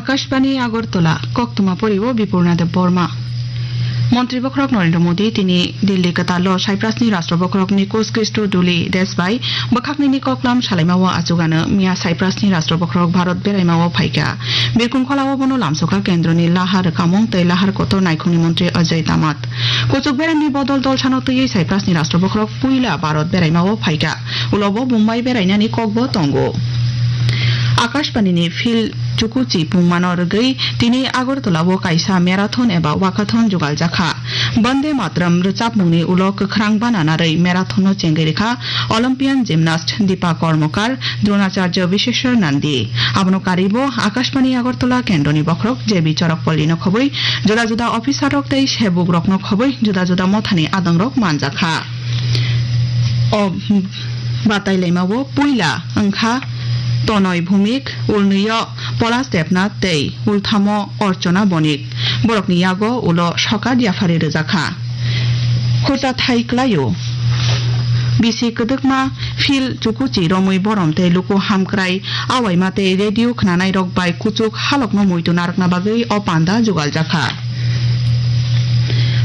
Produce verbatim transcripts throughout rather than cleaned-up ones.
Akashbani Agartala, koktwma poriwo Bipurna Debbarma. Montri bokhorok Narendra Modi tini Delhi kwtalo Cyprusni Rashtra bokhorok Nikos Christodoulidis bai bwkhaknini koklam salaimao achugano miya Cyprusni Rashtra bokhorok Bharat beraimao phaikha. Birkung kholao bono lamsokha kendroni lahar rwkhamung tei lahar kotor naikhungni montri Ajay Damat. Kuchuk beremni bodol dolsano twiwi Cyprusni Rashtra bokhorok puila Bharat beraimao phaikha. Ulobo Mumbai berainani kokbo tongo. Akashbanini Phil Chukuchi pungmano rwgwi tini Agartala-o kaisa marathon eba walkathon jugaljakha. Bande Mataram rwchapmungni ulo kwkhrang bana narwi marathon-no chengwi rwkha Olympian gymnast Deepa Karmakar, Dronacharya Visheshwar Nandi. Abono karwibo Akashbani Agartala kendroni bokhorok J B Chorokpalli-no khobwi juda juda officer-rok tei sebukrokno khobwi juda juda mothani adongrok manjakha. O batailaimao puila wngkha Tonoi Bhumik, Ulnwio Polash Debnath tei Ulthamo Archana Bonik. Borokni yago ulo sokat yaphari rwjakha. Khurta thai kwlaio. Bisi kwdwkma Phil Chukuchi romwi borom tei luku hamkrai awaima tei radio khnanairok bai kuchuk halokno muitu narwkna bagwi o panda jugaljakha.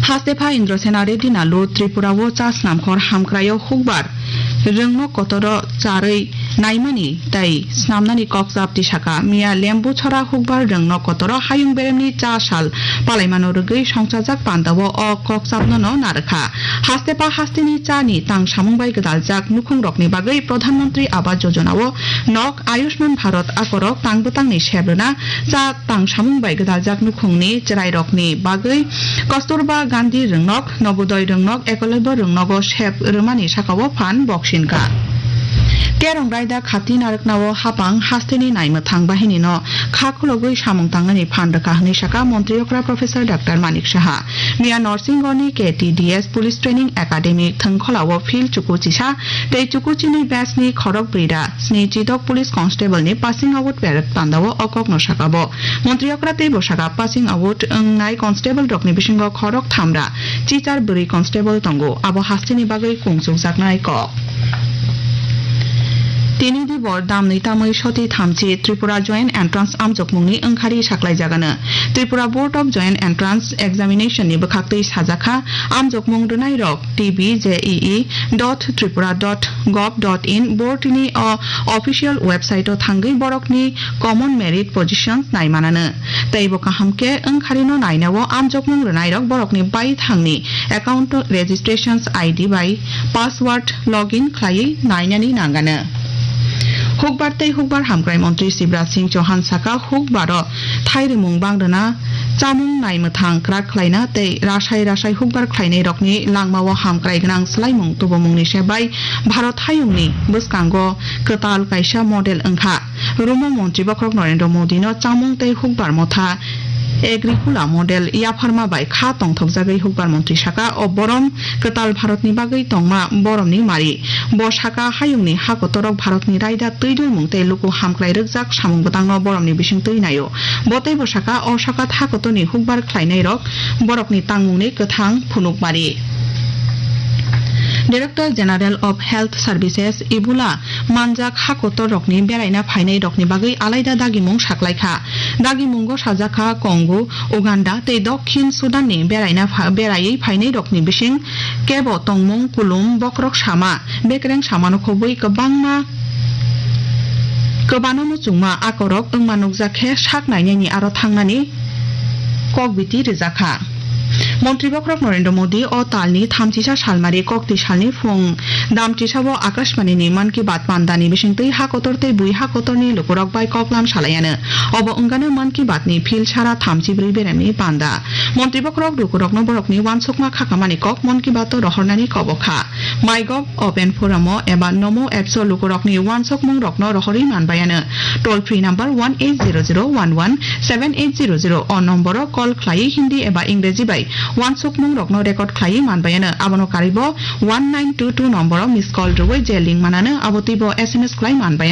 Hastepha Indrasena Reddy Nalu Tripura-o cha snamkhor hamkraio hukbar rwngnok kotoro charwi naimani tei snamnani kokchap tisaka. Miya Lembuchhora hukbar rwngnok kotoro hayung beremni cha sal palaimano rwgwi songchajak pandao o kokchapnono narwkha. Hastepha hasteni chani tang samung bai gwdaljak nukhungrokni bagwi Pradhan Mantri Awas Yojana-o nok, Ayushman Bharat akorok tang bwtangni sep rwna, cha tang samung bai gwdaljak nukhungni chwrairokni bagwi Kasturba Gandhi rwngnok, Nobodoi rwngnok, Ekalabya rwngnogo sep rwmani sakao phan boksinkha. Kerong raida khati narwknao hapang hasteni naimwthang bahinino kha khulogwi samung tangnani phan rwkha hwnwi sakha Montri okra Professor Doctor Manik Saha. Miya Norsingoni K T D S Police Training Academy thwngkholao Phil Chukuchisa tei Chukuchini batch ni khorok brwi ra sni chidok police constable ni passing out parade pandao o kokno sakabo. Montri okra teibo sakha passing out wngnai constable rokni bisingo khorok thamra chichar bwrwi constable tongo, abo hasteni bagwi kungchukjaknai kok. Tini dibor damni tamwi soti thamchi Tripura Joint Entrance amjokmungni wngkhari saklaijagano. Tripura Board of Joint Entrance Examination ni bwkhaktwi sajakha, amjokmung rwnairok T B J E E dot tripura dot gov dot in board ni o official website o thangwi borokni common merit positions naimanano. Teibo kaham khe wngkharino nainao amjokmung rwnairok borokni baithangni account registrations I D bai password login khlaiwi nainani nangano. Hukbar tei hukbar hamkrai montri Shivraj Singh Chauhan saka, hukbaro thairwmung bangrwna, chamung naimwthang kwrak khlaina tei rasai rasai hukbar khlainairokni langmao hamkrai gwnang swlaimung tubumungni se bai Bharat hayungni bwskango kwtal kaisa model wngkha. Rumo montri bokhorok Narendra Modi no chamung tei hukbar motha Agricola model yapharma bai kha tongthokjagwi hukbar montri saka, o borom kwtal Bharatni bagwi tongma boromni mari. Bo saka, hayungni ha kotorok Bharatni raida twi dulmung tei luku hamkrai rwkjak samung bwtangno boromni bising twi naio. Bo teibo saka, o saka ha kotorni hukbar khlainairok borokni tangmungni kwthang phunukmari. Director General of Health Services Ebola manjak ha kotor rokni beraina phainai rokni bagwi alaida dagimung saklaikha. Dagimungo sajakha Congo, Uganda tei Dokhin Sudan ni beraina pha-, beraiwi phainai rokni bising kebo tongmung, kulum, bokhorok sama, bekereng samano khobwi kwbangma kwbano muchungma akorok wngma nukjak khe sak nainani aro thangnani kokbiti rwjakha. Montri bokhorok Narendra Modi o talni thamchisa salmari kokti salni phung damchisao Akashbani ni Mann Ki Baat pandani bisingtwi ha kotor tei bui ha kotorni lukurok bai koklam salaiano. Obo wngano Mann Ki Baat ni phil sara thamchi brwi beremni panda. Montri bokhorok lukurokno borokni uansukma khakamani kok Mann Ki Baat o rohornani kobokha. MyGov Open Forum o eba Namo Apps o lukurokni uansukmungrokno rohorwi manbaiano. Toll free number one eight zero zero one one seven eight zero zero o nomboro call khlaiwi Hindi eba Ingreji bai uansukmungrokno record khlaiwi manbaiano. Abono karwibo one nine two two nomboro miss call rwui je link manano, abo twibo S M S khlai manbaiano.